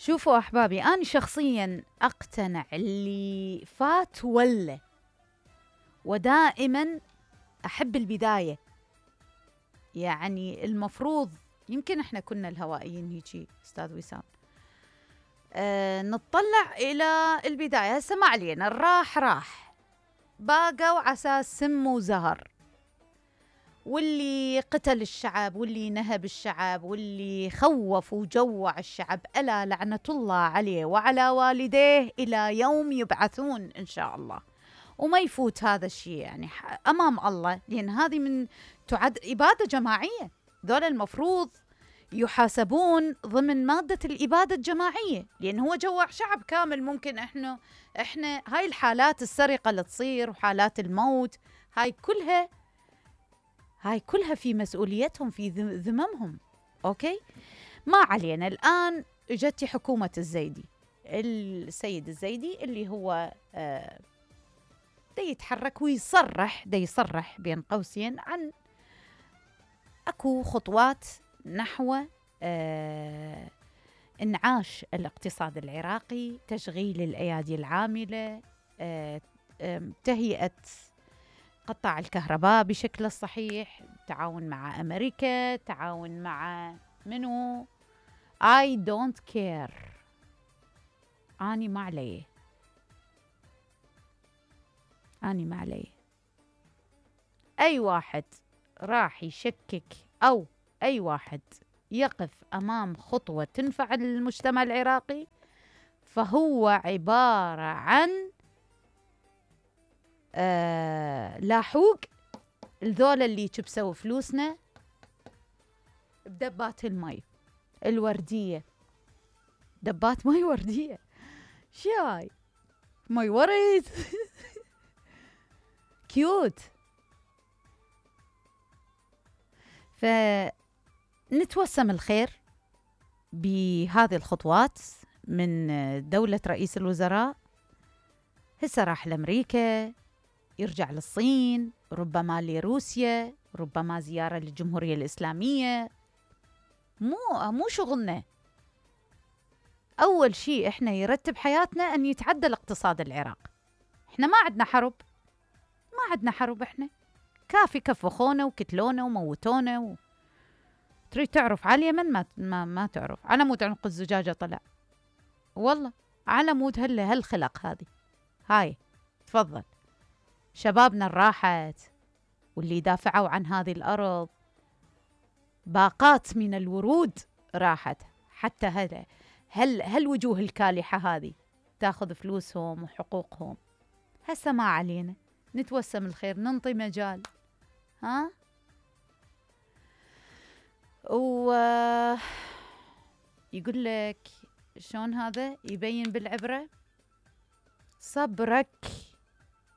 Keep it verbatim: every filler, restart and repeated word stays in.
شوفوا أحبابي، أنا شخصياً أقتنع اللي فات ولا، ودائماً أحب البداية. يعني المفروض، يمكن إحنا كنا الهوائيين هيجي أستاذ وسام، أه نتطلع إلى البداية. هسه ما علينا، الراح راح، باقوا عساس سم وزهر، واللي قتل الشعب واللي نهب الشعب واللي خوف وجوع الشعب ألا لعنة الله عليه وعلى والديه إلى يوم يبعثون إن شاء الله. وما يفوت هذا الشيء يعني أمام الله، لأن هذه من تعد إبادة جماعية. ذولا المفروض يحاسبون ضمن مادة الإبادة الجماعية، لأن هو جوع شعب كامل. ممكن إحنا إحنا هاي الحالات السرقة اللي تصير وحالات الموت، هاي كلها هاي كلها في مسؤوليتهم، في ذممهم. أوكي، ما علينا. الآن اجت حكومة الزيدي، السيد الزيدي اللي هو آه دا يتحرك ويصرح، دا يصرح بين قوسين عن أكو خطوات نحو آه انعاش الاقتصاد العراقي، تشغيل الأيادي العاملة، آه آه تهيئة قطاع الكهرباء بشكل صحيح، تعاون مع أمريكا، تعاون مع منو؟ I don't care، أني ما عليه، أني ما عليه. أي واحد راح يشكك أو أي واحد يقف أمام خطوة تنفع المجتمع العراقي فهو عبارة عن آه لاحوق الذولة اللي يكبسوا فلوسنا بدبات المي الوردية. دبات مي وردية، شاي مي ورد كيوت. فنتوسم الخير بهذه الخطوات من دولة رئيس الوزراء. هسه راح لأمريكا، يرجع للصين، ربما لروسيا، ربما زيارة للجمهورية الإسلامية. مو مو شغلنا. أول شيء إحنا يرتب حياتنا أن يتعدل اقتصاد العراق. إحنا ما عندنا حرب، ما عندنا حرب. إحنا كافي كفخونا وكتلونا وموتونا و... تريد تعرف على اليمن ما ما, ما تعرف على مود عنق الزجاجة طلع، والله على مود هلا هالخلق هذه. هاي تفضل شبابنا الراحت واللي دافعوا عن هذه الأرض، باقات من الورود راحت. حتى هذا هل هالوجوه الكالحة هذه تاخذ فلوسهم وحقوقهم. هسه ما علينا، نتوسم الخير، ننطي مجال. ها و يقول لك شلون هذا يبين بالعبرة؟ صبرك